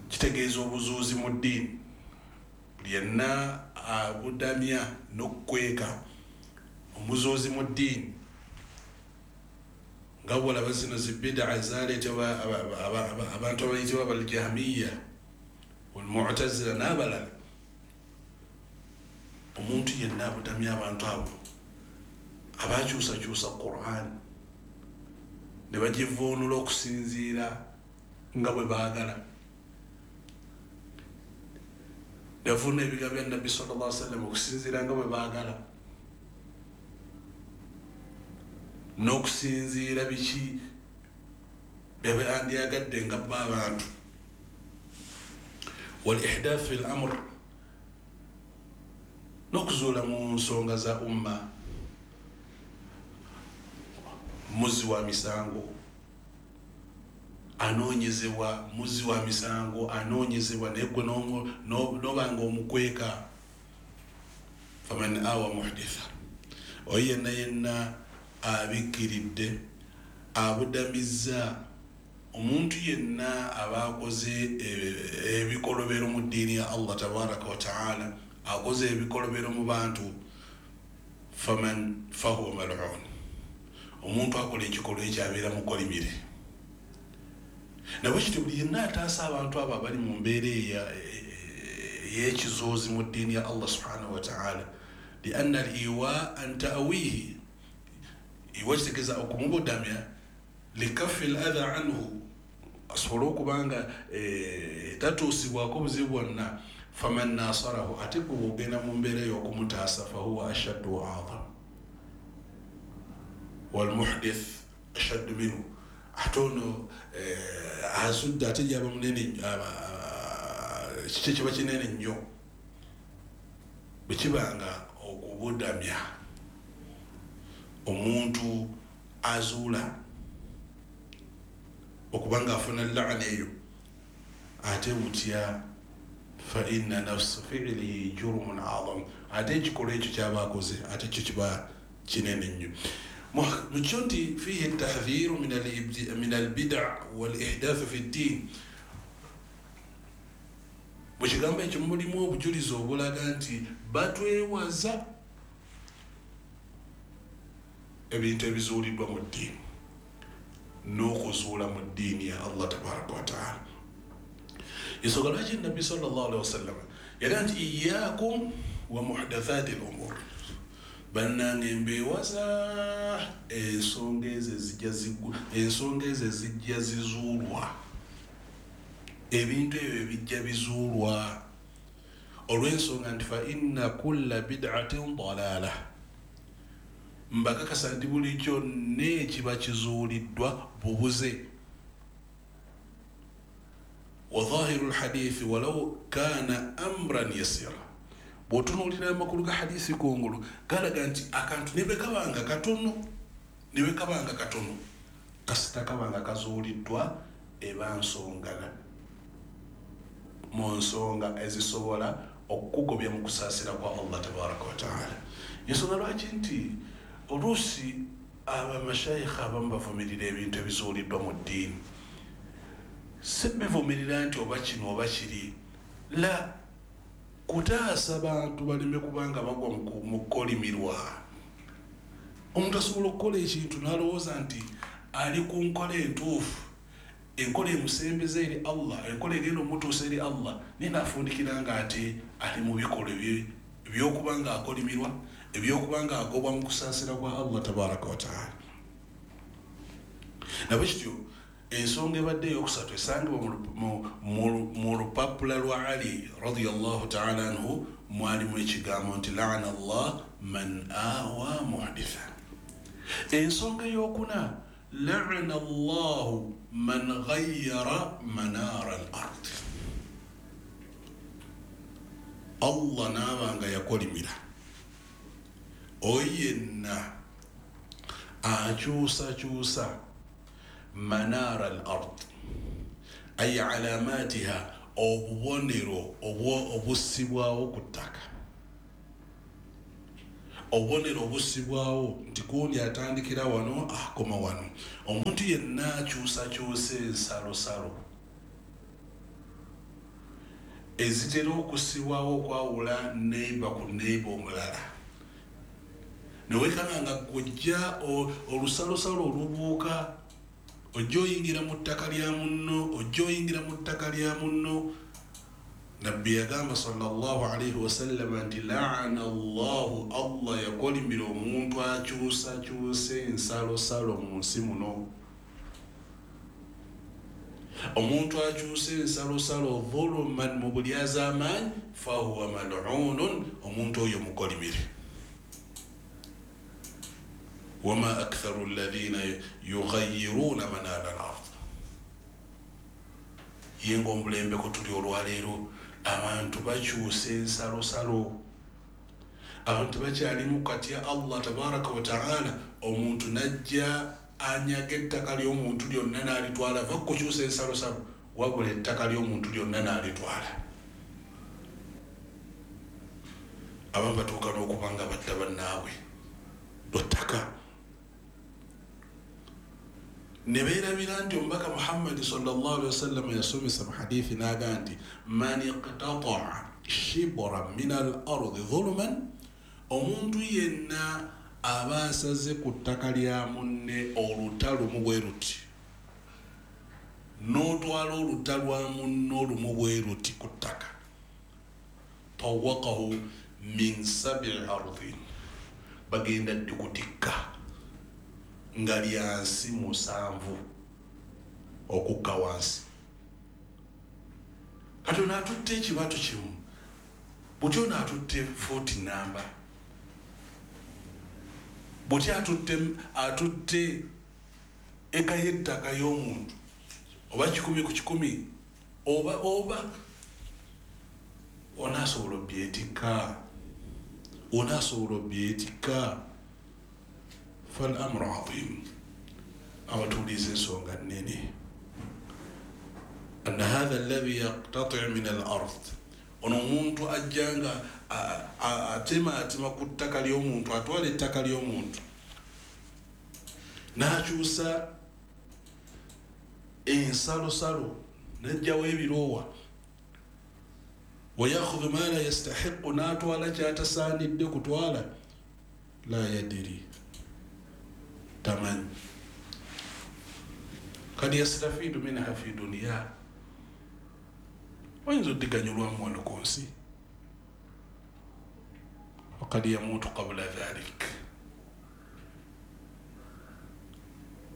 kitegeeza obuzuuzi mu ddiini. Buli yenna abudamya n'okukweka omuzuuzi mu ddiini, nga bwolaba zino zibidaa zaleetebwa abantu abayitibwa baljahmiya walmutazila n'abalala. Omuntu yenna abudamya abantu abo abakyusakyusa Qur'an ne bagivuunula okusinziira nga bwe baagala, ne bavuunula ebigambo bya Nabbi sallallahu alaihi wasallam okusinziira nga bwe baagala, n'okusinziira biki bye bandyagadde nga bo abantu. Wal ihdath fi l-amr, n'okuzuula mu nsonga za umma, muzzi wa misango anoonyezebwa, muzzi wa misango anoonyezebwa, naye gwe n'obanga omukweka. Faman awa muhditha, oyo yenna yenna abikkiridde abudamizza omuntu yenna aba akoze ebikolobero mu ddiini ya Allah tabaraka wa taala, akoze ebikolobero mu bantu, faman fahuwa mal'un, omuntu akola ekikolwa ekyo abeera mukolimire. Nabwe kityo buli yenna ataasa abantu abo abali mu mbeera ey'ekizuuzi mu ddiini ya Allah subhanahu wa taala, lianna al iwa an ta'wihi, iwa kitegeeza okumubudamya, likafi l adha anhu, asobole okubanga tatuusibwako buzibu bwonna. Faman nasarahu, ate gwe bw'ogenda mu mbeera ey'okumutaasa, fahuwa ashaddu wa a'zam, walmuhdith ashaddu minhu, ate ono azudde ate gyaba munene, kiki kiba kinene nnyo bwe kibanga okubudamya omuntu azuula okubanga afuna laana eyo, ate butya fa inna nafsa fi'lihi jurmun a'zam, ate ekikolwa ekyo kyaba akoze ate kyo kiba kinene nnyo. Mukyo nti fihi tahdhiru min albida wal ihdath fi ddin, mu kigambo ekyo mulimu obujulizi obulaga nti batwewaza ebintu ebizuuliddwa mu ddiini n'okuzuula mu ddiini ya Allah tabaraka wa taala. Ensonga lwaki Nabbi sallallahu alaihi wasallam yagamba nti iyyakum wa muhdathaati l-umur, bannange mbeewaza ensonga ezo ezijja ensonga ezo ezijja zizuulwa, ebintu ebyo ebijja bizuulwa, olw'ensonga nti fa inna kulla bid'atin dalaala, mbakakasa nti buli kyonna ekiba kizuuliddwa bubuze. Wa dhahiru lhadithi walau kana amran yasira, bw'otunuulira amakulu ga hadisi kungulu galaga nti akantu ne bwe kabanga katono, ne bwe kabanga katono, kasita kabanga kazuuliddwa eba nsonga mu nsonga ezisobola okukugobya mu kusaasira kwa Allah tabaraka wa taala. Ensonga lwaki nti oluusi abamashayikha abamu bavumirira ebintu ebizuuliddwa mu ddiini, si bivumirira nti oba kino oba kiri, la kutaasa bantu baleme kubanga bagwa mu kukolimirwa. Omuntu asobola okukola ekintu n'alowooza nti ali ku nkola entuufu, enkola emusembeza eri Allah, enkola egenda omutuusa eri Allah, naye n'afundikira nga ate ali mu bikolwa ebyokuba nga akolimirwa, ebyokuba nga agobwa mu kusaasira kwa Allah tabaraka wa taala. Nabwe kityo ensonga ebadde eyokusatu esangibwa mu lupapula lwa Ali radiyallahu taala anhu, mwalimu ekigambo nti laana Allah man awa muhditha. Ensonga eyokuna, laana Allahu man ghayyara manara al-ard, Allah n'abanga yakolimira oyo yenna akyusakyusa manara al-ard ay alamatiha, Obubonero obussibwawo ku ttaka, obubonero obussibwawo nti gundi atandikira wano akoma wano. Omuntu yenna akyusakyusa ensalosalo ezitera okussibwawo okwawula neighbor ku neighbor omulala, newekanga nga gwojja olusalosalo olubuuka, ojja oyingira mu ttaka lya munno, ojja oyingira mu ttaka lya munno. Nabbi yagamba sallallahu alaihi wasallam nti laana Allahu, Allah yakolimira omuntu akyusakyusa ensalosalo mu nsi muno. Omuntu akyusa ensalosalo dhuluman, mu bulyazaamaanyi, fahuwa mal'unun, omuntu oyo mukolimire. Wama aktharu alladhina yughayiruna manara al-ard. Ye ng'omulembeko tuli olwaleero, abantu bakyusa ensalosalo, abantu bakyalimu katya Allah tabaraka wa taala. Omuntu najja anyaga ettaka ly'omuntu lyonna n'alitwala, va kukyusa ensalosalo, wabula ettaka ly'omuntu lyonna n'alitwala. Abamu batuuka n'okuba nga batta bannaabwe lwa ttaka, ne beerabira nti omubaka Muhammadi sallallahu alaihi wasallam yasomesa mu hadithi n'aga nti man iqtataa shibran min al ardi dhuluman, omuntu yenna aba asaze ku ttaka lya munne oluta lumu bwe luti, n'otwala oluta lwa munne olumu bwe luti ku ttaka, tawaqahu min sabi ardin, bagenda ddikutikka nga lyansi musanvu okukka wansi. Kati ono atutte ekibatu kimu, buti ono atutte fuuti namba, buti atutte atutte eka y'ettaka y'omuntu oba kikumi ku kikumi, oba oba onaasobola obyetikka, onaasobola obyetikka. Fal amru adhim, abatuuliza ensonga nnene. Anna hatha alladhi yaqtati min al ard, ono omuntu ajja nga atemaatema ku ttaka ly'omuntu, atwala ettaka ly'omuntu n'akyusa ensalosalo n'ajjawo ebiroowa, wayakhudhu ma la yastahiqu, n'atwala kyatasaanidde kutwala, la yadiri, tamanyi, kad yastafidu minha fi duniya, oyinza oddiganyulwamu wano ku nsi, wakad yamuutu qabula dhalik,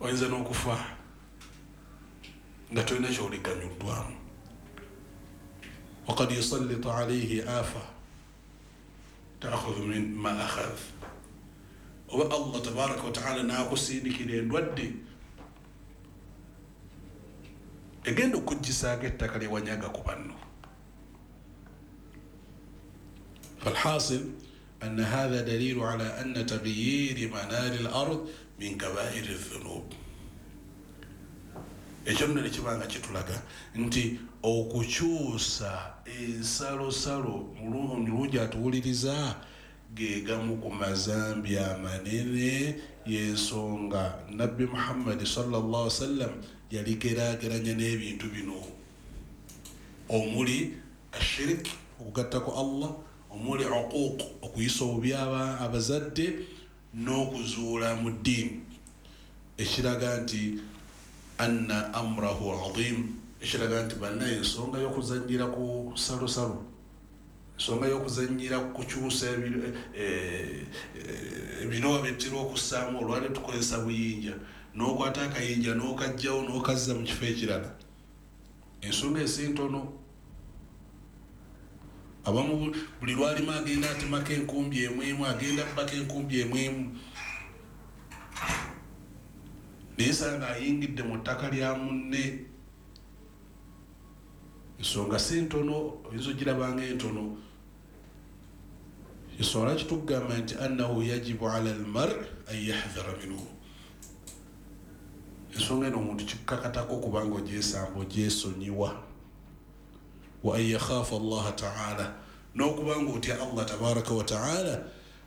oyinza n'okufa nga tolina kyoliganyuddwamu. Wakad yusallitu alaihi afa taakhudhu min ma akhadh, oba Allah tabaraka wa taala n'akusindikira endwadde egenda okuggisaako ettaka lyewanyaga ku banno. Falhasil anna hatha dalilu ala anna taghyiri manari al-ard min kabairi dhunub. Ekyo nno ne kiba nga kitulaga nti okukyusa ensalosalo mulungi atuwuliriza ge gamu ku mazambi amanene. Y'ensonga Nabbi Muhammadi sallallahu alaihi wasallam yaligeraageranya n'ebintu bino omuli ashirik, okugattako Allah, omuli uquuq, okuyisa obubi abazadde, n'okuzuula mu ddiini, ekiraga nti anna amrahu adhim, ekiraga nti bannaye ensonga y'okuzannyira ku salosalo, ensonga y'okuzannyira ku kukyusa ebiroowa byetutera okussaamu olwali tukozesa buyinja, n'okwata akayinja n'okajjawo n'okazza mu kifo ekirala, ensonga esi ntono. Abamu buli lwalima agenda atemako enkumbi emu emu, agenda abbako enkumbi emu emu, naye sanga ayingidde mu ttaka lya munne. Ensonga si ntono, oyinza ogirabanga entono. Ensonga kitugamba nti annahu yajibu ala almar an yahdhara minhu, ensonga eno omuntu kikakatako okubanga ogyesamba ogyesonyiwa. Wa an yakhafa Allaha ta'ala, n'okubanga otya Allah tabaraka wa ta'ala,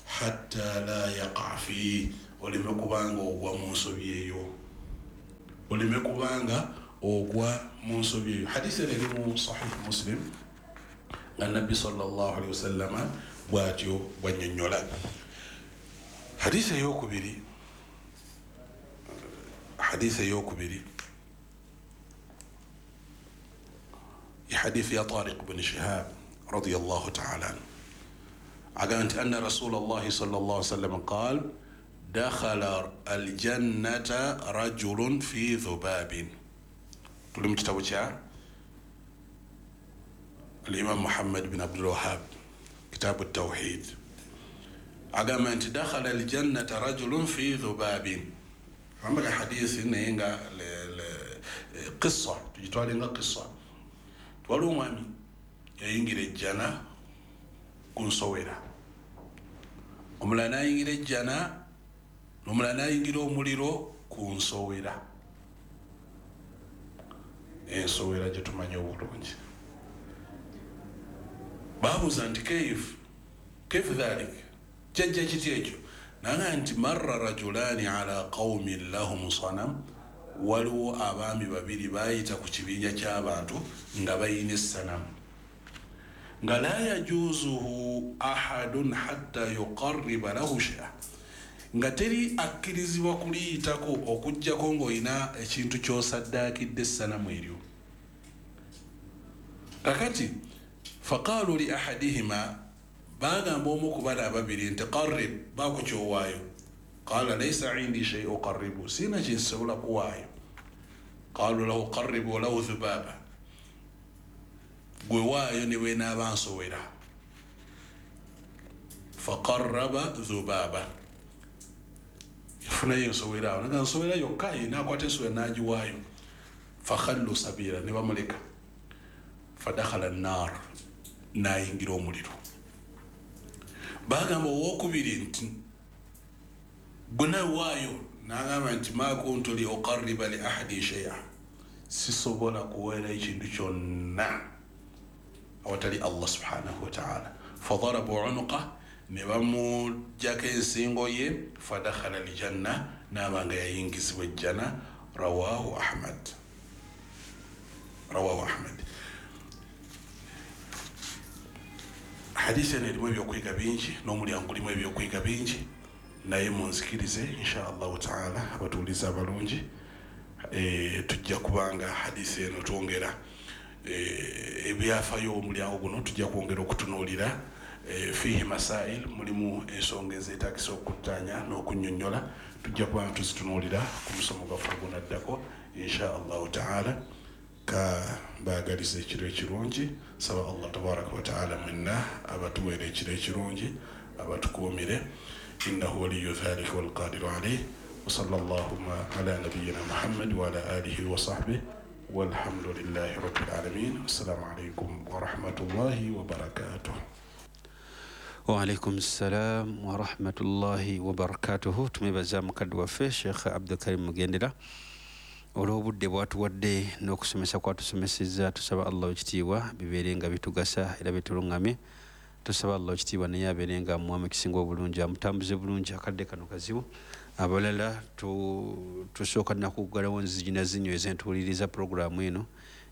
hatta la yaqa fi, oleme kubanga ogwa mu nsobi eyo, oleme kubanga ogwa mu nsobi eyo. Hadisi eri mu Sahih Muslim nga Nabbi sallallahu alaihi wasallama bw'atyo bw'annyonnyola. Hadisi eyokubiri, hadisi eyokubiri حديث يا طارق بن شهاب رضي الله تعالى عنه، أقالت أن رسول الله صلى الله عليه وسلم قال دخل الجنة رجل في ذباب. تقولون كتاب الإمام محمد بن عبد الوهاب كتاب التوحيد، أقامت دخل الجنة رجل في ذباب. عمك حديث إنه قصة تجتوالي قصة waliwo omwami yayingira ejjana ku nsowera, omulala n'ayingira ejjana, omulala n'ayingira omuliro ku nsowera. Ensowera gye tumanyi obulungi. Baabuuza nti keifu keifu dhalik, kyajja kiti ekyo? Naga nti marra rajulani ala qawmin lahum sanam, waliwo abaami babiri baayita ku kibinja ky'abantu nga bayina essanamu, nga la yajuzuhu ahadun hatta yuqarriba lahu shay'a, nga teri akkirizibwa kuliyitako okuggyako ng'olina ekintu ky'osaddaakidde essanamu eryo. Kakati faqaalu li ahadihima, baagamba omu ku bano ababiri nti qarrib, baako ky'owaayo. Qala laysa indi shay uqarribu, sina kinsobola kuwaayo. Qalu lahu qarribu lahu dhubaba, gwe waayo ne bwenaaba nsowera. Faqarraba dhubaba, yafunayo ensowera awo, naga nsowera yokka ye n'akwata ensowera n'agiwaayo. Fakhallu sabila, ne bamuleka. Fadakhala an-nar, n'ayingira omuliro. Baagamba owookubiri nti gwe nawaayo, n'agamba nti ma kuntu li uqarriba li ahadi shay'a, sisobola kuweera ekintu kyonna awatali Allah subhanahu wa ta'ala. Fadarabu unuqa, ne bamuggyako ensingo ye. Fadakhala aljanna, n'aba nga yayingizibwa ejjana. Rawahu Ahmad, rawahu Ahmad. Hadisi eno erimu ebyokuyiga bingi n'omulyango gulimu ebyokuyiga bingi, naye munzikirize insha Allahu taala abatuuliza abalungi, e, tujja kubanga hadisi eno twongera e, ebyafayo omulyango guno tujja kwongera okutunuulira. E, fihi masail, mulimu ensonga ezeetagisa okuttaanya n'okunnyonnyola, tujja kubanga tuzitunuulira ku musomo gwaffe ogunaddako insha Allahu taala. Ka mbaagaliza ekiro ekirungi, saba Allah tabaraka wa taala mwenna abatuweere ekiro ekirungi, abatukuumire. إنه ولي ذلك والقادر عليه. وصلى اللهم على نبينا محمد وعلى آله وصحبه، والحمد لله رب العالمين. السلام عليكم ورحمة الله وبركاته.
وعليكم السلام ورحمة الله وبركاته. Tumwebaza mukadde waffe Sheikh Abdulkarim Mugendera olw'obudde bw'atuwadde n'okusomesa kwatusomesezza. Tusaba Allah ekitiibwa bibeere nga bitugasa era bitulungamye. Tusaba Allah ekitiibwa naye abeere nga amuwa ekisinga obulungi, amutambuze bulungi. Akadde kano kazibu, abalala tusooka nakuggalawo nzigi na zinyweza entuuliriza puroguraamu eno,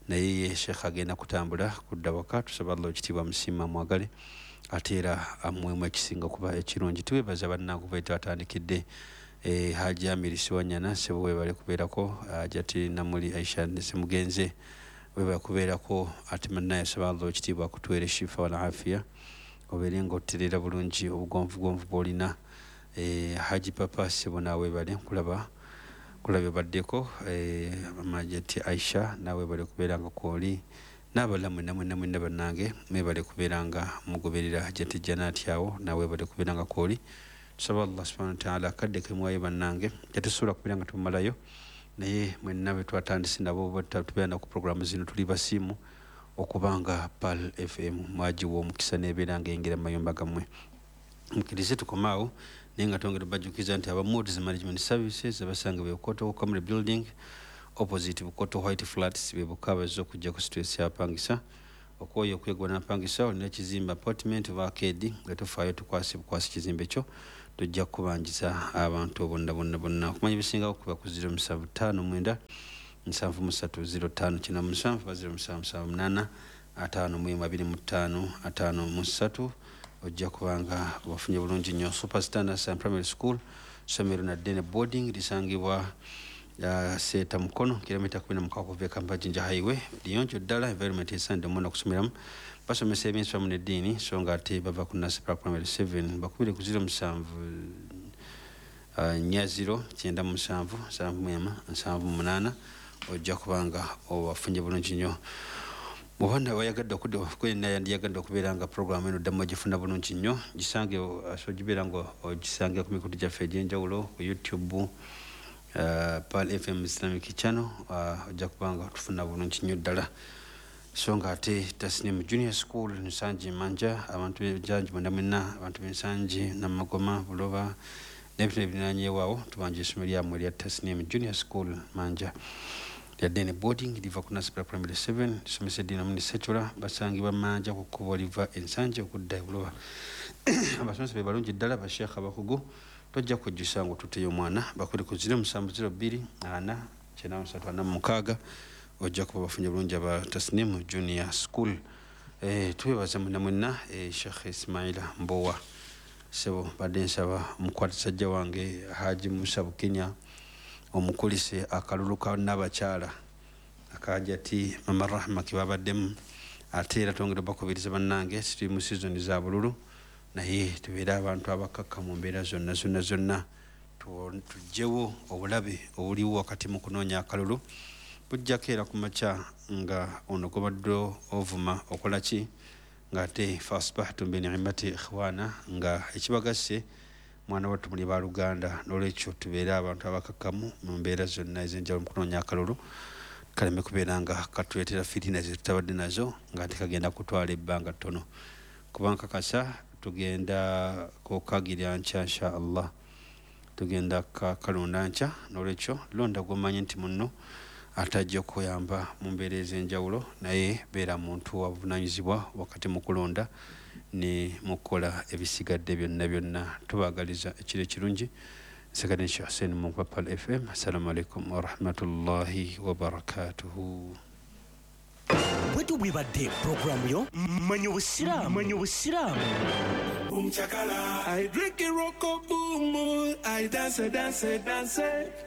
naye ye Sheikh agenda kutambula kudda waka. Tusaba Allah ekitiibwa amusiima amwagale ate era amuwemu ekisinga kuba ekirungi. Tubeebaza bannange kuba twatandikidde eh, Haji Amiri Siwanyana sebo webale kubeerako, Hajati Namuli Aisha Semugenze webale kubeerako, ate munnaye saba Allah ekitiibwa akutuweere shifa wal afiya, obeere ng'oterera bulungi obugonvugonvu bw'olina. Eh, Haji Papa sebo naawe webale kulaba kulabye baddeko, eh, Majeti Aisha naawe webale kubeera nga kwoli, n'abalala mwenna mwenna mwenna bannange mwebale kubeera nga mugoberera Hajati Janati awo, naawe webale kubeera nga kwoli. Tusaba Allah subhanahu wa ta'ala akadde ke muwayo bannange tetusobola kubeera nga tumalayo, naye mwenna be twatandise nabo tubeera ku puroguramu zino tuli basiimu okubanga Pearl F M mwagiwa omukisa n'ebeera ng'eyingira mu mayumba gammwe. Mukkirize tukomaawo, naye nga twongera obajjukiza nti aba Moods Management Services abasanga be Bukoto Comedy Building opposite Bukoto White Flats be bokka abazze okujja ku situesi apangisa. Okwoyo okwegwa n'apangisa olina ekizimbe apartment oba arcade nga tofaayo tukwase bukwasi kizimbe kyo, tujja kubanjiza abantu bonna bonna bonna. Okumanya ebisingawo kuba ku zero musanvu ttaano mwenda nsanvu mu ssatu zero ttaano kyenda musanvu oba zero musanvu musanvu munaana ataano mu emu abiri mu ttaano ataano mu ssatu, ojja kubanga obafunye bulungi nnyo. Superstar Nursery Primary School, ssomero na ddene boarding, lisangibwa uh, Seeta Mukono, kilomita kumi na mukaaga okuva e Kampala Jinja Highway. Liyonjo ddala, environment esaanidde omwana okusomeramu. Basomesa ebyensoma n'eddiini, so nga ate bava ku Nursery Primary seven. Bakubire ku zero musanvu uh, nnya zero kyenda musanvu nsanvu mu emu nsanvu mu munaana, ojja kubanga obafunye bulungi nnyo. Bw'oba wayagadde okudda kwenna yandiyagadde okubeera nga puroguramu eno ddamu ogifuna bulungi nnyo, gisange so gibeera nga ogisange ku mikutu gyaffe egy'enjawulo ku YouTube, uh, Pearl F M Islamic Channel, ojja uh, kuba nga tufuna bulungi nnyo ddala. So nga ate Tasnim Junior School Nsangi Manja, abantu b'Ensangi mwenda mwenna, abantu b'Ensangi Namagoma Buloba n'ebitundu ebirinaanyeewaawo, tubanja essomero lyammwe erya Tasnim Junior School Manja. Lyaddene boarding liva ku Nursery Primary seven, lisomesa eddiini omuni secular, basangibwa Manja ku kkubo liva Ensangi okudda e Buloba. Abasomesa be balungi ddala, basheekh abakugu, tojja kujjusa ng'otuteyo omwana. Bakubire ku zero musanvu zero bbiri ana kyenda musatu ana mu mukaaga, ojja kuba bafunye bulungi aba Tasnim Junior School. Eh, twebaza mwenna mwenna, eh, Sheikh Ismaila Mbowa sebo, badde nsaba omukwata wange Haji Musa Bukenya omukulise akalulu ka n'abakyala akajati Mama Rahma kibabaddemu. Ate era twongera bakubiriza bannange, tuli mu season za bululu, naye tubeere abantu abakakka mu mbeera zonna zonna zonna, tuggyewo obulabe obuliwo wakati mu kunoonya akalulu. Bujjako era ku makya nga ono gobadde ovuma okola ki, ng'ate fasbahtum bi ni'mati ikhwana, nga ekibagasse mwana wattu muli baluganda. N'olwekyo tubeere abantu abakakkamu mu mbeera zonna ez'enjawulo mu kunoonya akalulu, kaleme kubeera nga katuleetera fitina ze tutabadde nazo, nga tekagenda kutwala ebbanga ttono. Kuba nkakasa tugenda kukagira nkya insha Allah, tugenda kalonda nkya. N'olwekyo londa gw'omanyi nti munno atajja okuyamba mu mbeera ez'enjawulo, naye beera muntu wabuvunaanyizibwa wakati mu kulonda ne mu kukola ebisigadde byonna byonna. Tubaagaliza ekiro ekirungi. Nsigadde Sheikh Hussein Mungu wa Pearl F M. Assalamu alaikum warahmatullahi wabarakatuhu.
Bwetu bwebadde programu yo Manya Obusiraamu. Manya Obusiraamu.
Boom chakala, I drink it roko boom, I dance dance dance.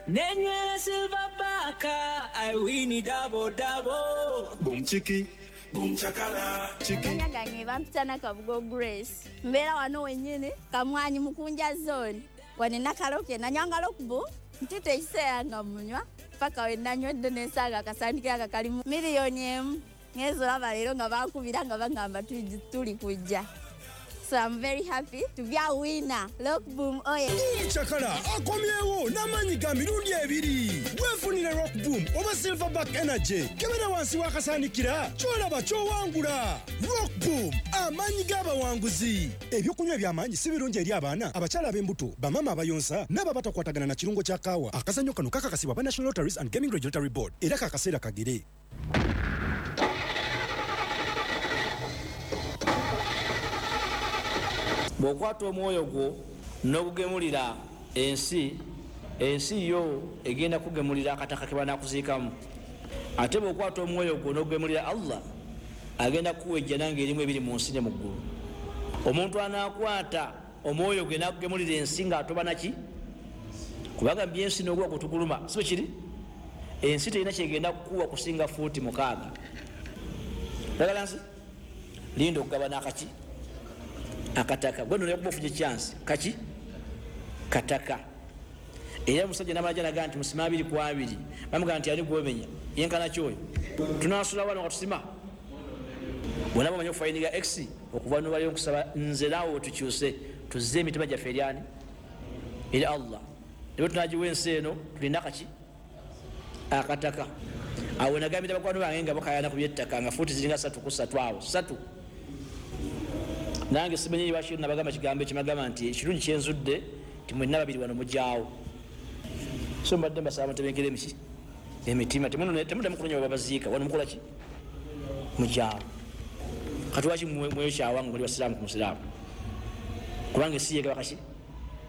Nenywera silver baka, I win it double double.
Boom chiki, boom chakala, chiki.
Nyangange bampita Kabugo Grace. Mbeera wano wennyini Kamwanyi Mukunja zone. Wane nakaloke nanywanga lokubu ntute ekiseera nga munywa paka we nanywedde n'ensaaga akasandikira nga kalimu miliyoni emu. Ngenze olaba leero nga bankubira nga bagamba tuli kujja. So I'm very happy to be a winner. Look, boom, oh yeah.
Boom Chakala akomyewo n'amaanyi ga mirundi ebiri. Weefunire Rock Boom oba Silverback Energy. Kebera wansi w'akasaanikira ky'olaba ky'owangula. Rock Boom, amaanyi g'abawanguzi. Ebyokunywa eby'amaanyi si birungi eri abaana, abakyala ab'embuto, bamaama abayonsa n'abo abatakwatagana na kirungo kya kaawa. Akazannyo kano kakakasibwa aba National Lotteries and Gaming Regulatory Board era kakaseera kagere.
Bw'okwata omwoyo gwo n'ogugemulira ensi, ensi yo egenda kugemulira akataka ke banaakuziikamu. Ate bw'okwata omwoyo gwo n'ogugemulira Allah, agenda kukuwa ejjana ng'erimu ebiri mu nsi ne mu ggulu. Omuntu anaakwata omwoyo gwe n'agugemulira ensi ng'atoba naki? Kubanga byensi n'oguwa gutuguluma, si bwe kiri? Ensi terina kyegenda kukuwa kusinga fuuti mukaaga. Oyagala nsi? Linda okugabana akaki? Akataka. Gwe nno okuba ofunye chance kaki kataka. Era omusajja n'amala n'agamba nti musima abiri ku abiri, bamugamba nti ani gw'omenya yenkana ki oyo? Tunaasula wano nga tusima. Bonna bamanyi okufayininga X okuva nobaliyo nkusaba nze naawe tukyuse tuzze emitima gyaffe eri ani? Eri Allah. Ne bwe tunaagiwa ensi eno tulina kaki akataka. Awo nagambira bakwano bange nga bakaayana ku by'ettaka nga fuuti ziringa ssatu ku ssatu awo ssatu. Nange simanyi lwaki nabagamba kigambo ekyo, nabagamba nti ekirungi kyenzudde nti mwenna babiri wano mujjaawo. So mbadde mbasaba mutebenkere emiki emitima, temuddamu kunoonya we babaziika, wano mukola ki? Mujjaawo. Kati lwaki mwekyawa nga muli basiraamu ku musiraamu? Kubanga ensi yegaba kaki?